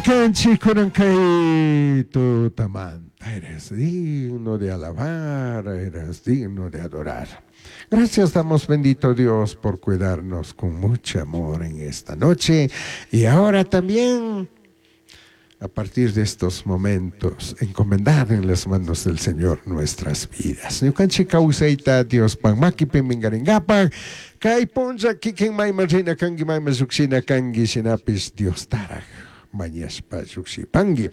Alabay kunan kay tutamanta. Eres digno de alabar, eres digno de adorar. Gracias damos, bendito Dios, por cuidarnos con mucho amor en esta noche. Y ahora también, a partir de estos momentos, encomendar en las manos del Señor nuestras vidas. Ñukanchik kawsayta Diospaj makipi mingaringapaj, kay punlla kikin mayman rina kanki, mayman llujshina kanki, shinapish Diostaraj mañashpa llujshipanki.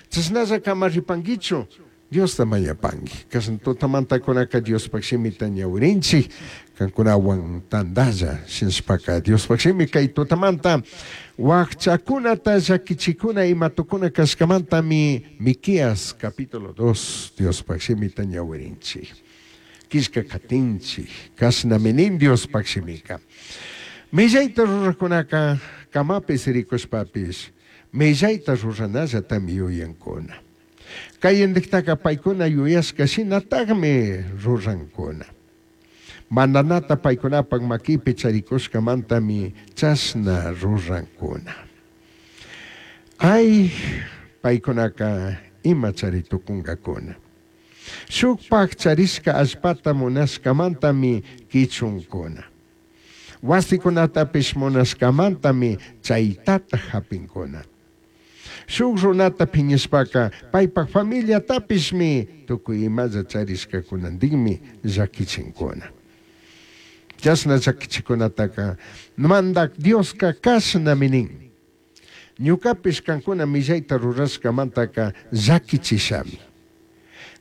Chashnalla ama ripankichu, Diosta mañapanki. Kashna tutamantakunaka Diospaj shimita ñawirinchik, kankunawan tandalla shinashpaka Diospaj shimi kay tutamanta wajchakunata llakichikuna ima tukuna kashkamantami Miqueas capítulo 2 Diospaj shimita ñawirinchik. Killka katinchik, kashnami nin Diospaj shimika. Millayta rurajkunaka camapi sirikushpapish millayta ruranallatami yuyankuna. Kayindiktaka paykuna yuyashka shinatakmi rurankuna. Mandanata paykunapak makipi charikushkamantami chashna rurankuna. Ay, paykunaka ima chari tukunkakuna. Shukpak charishka allpata munashkamantami kichunkuna. Wasikunatapish munashkamantami chaytata hapinkuna. Shuk runata piñashpaka paypak familiatapishmi tukuy imalla charishkakunantinmi llakichinkuna. Chashna llakichikunataka mandak Dioska kashnami nin. Ñukapish kankuna millayta rurashkamantaka llakichishami.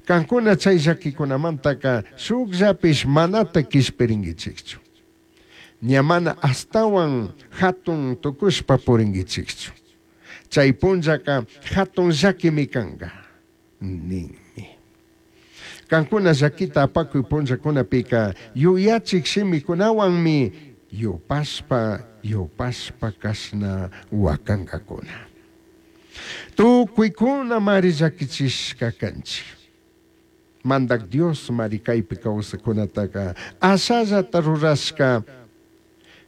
Kankuna chay llakikunamantaka shukllapish manata kishpirinkichikchu. Ña mana ashtawan hatun tukushpa purinkichikchu. Chay punllaka hatun llakimi kanka ninmi. Kankuna llakita apakuy punllakunapika yuyachik shimikunawanmi yupashpa yupashpa kashna wakankakuna. Tukuykuna mari llakichishka kanchik. Mandak Dios mari kaypi kawsakunataka ashallata rurashka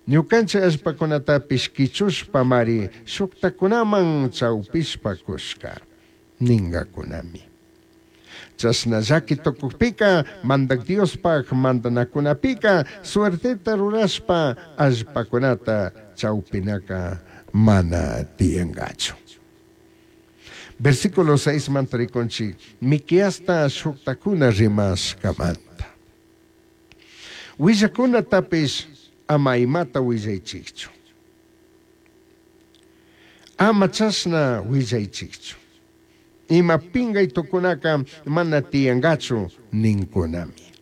ñukanchik allpakunatapish kichushpa mari shuktakunaman chawpishpa kushka ninkakunami. Chashna llaki tukukpika mandak Diospaj mandanakunapika suerteta rurashpa allpakunata chawpinaka mana tiyankachu. Versículo 6 manta rikunchik Miqueasta shuktakuna rimashkamanta. Willakunatapish ama imata willaychikchu. Ama chashna willaychikchu. Ima pingay tukunaka mana tiyankachu ninkunami.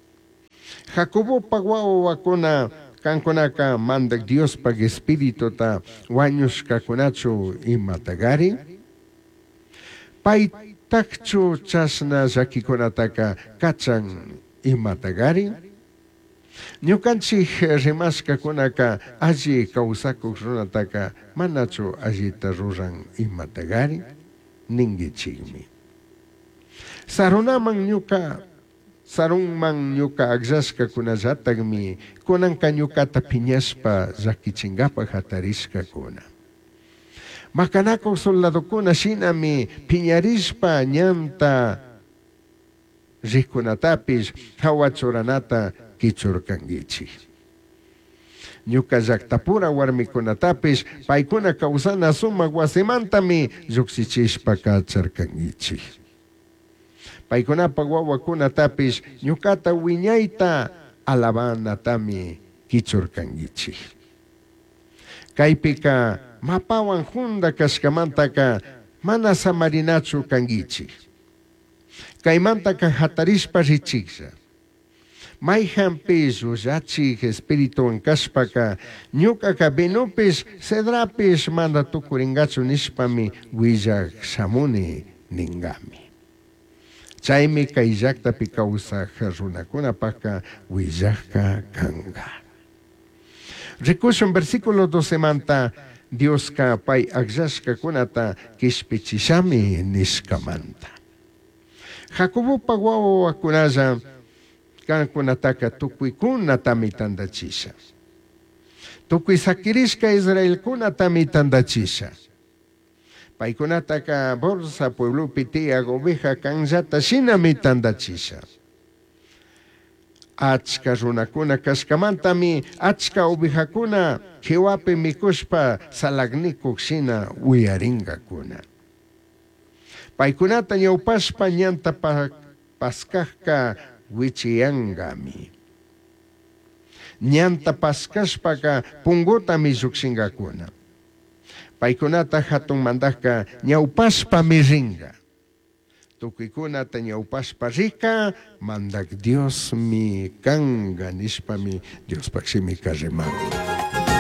Jacobopak wawakuna kankunaka mandak Diospaj espirituta wañushkakunachu imatagari? Paytakchu chashna llakikunataka kachan imatagari? Ñukanchik rimashkakunaka alli kawsakuk runataka manachu allita ruran imatagari? Ninkichikmi. Sarunaman ñuka sarunman ñuka akllashkakunallatakmi kunanka ñukata piñashpa llakichinkapak hatarishkakuna. Makanakuk soldadokuna shinami piñarishpa ñanta rikkunatapish hawa churanata kichurkankichik. Ñuka llactapura warmikunatapish paykuna kawsana sumak wasimantami llukshichishpa kacharkankichik. Paykunapak wawakunatapish ñukata wiñayta alabanatami kichurkankichik. Kaypika mapawan junda kashkamantaka mana samarinachu kankichik. Kaymantaka hatarishpa richiklla. Mayhanpish llullachik espirituwan kashpaka ñukaka vinopish cedrapish mana tukurinkachu nishpami willak shamuni ninkami. Chaymi kay llaktapi kawsaj runakunapaka willakka kanka. Rikushun versículo 12 manta Dioska pay akllashkakunata kishpichishami nishkamanta. Jacobopak wawakunalla kankunataka tukuykunatami tandachisha. Tukuy sakirishka Israelkunatami tandachisha. Paicunataca Borsa pueblopi tiyaj oveja canllata shinami tandachisha. Achca runacuna cashcamantami achca ovejacuna quihuapi micushpa salagnicuj shina uyaringacuna. Paicunata ñaupashpa ñanta pascajca huichiyangami. Ñanta pascashpaca pungutami llujshingacuna. Paicunata jatun mandajca ñaupashpami ringa. Tucuicunata ñaupashpa rica, Mandaj Diosmi canga nishpami Diospaj shimica riman.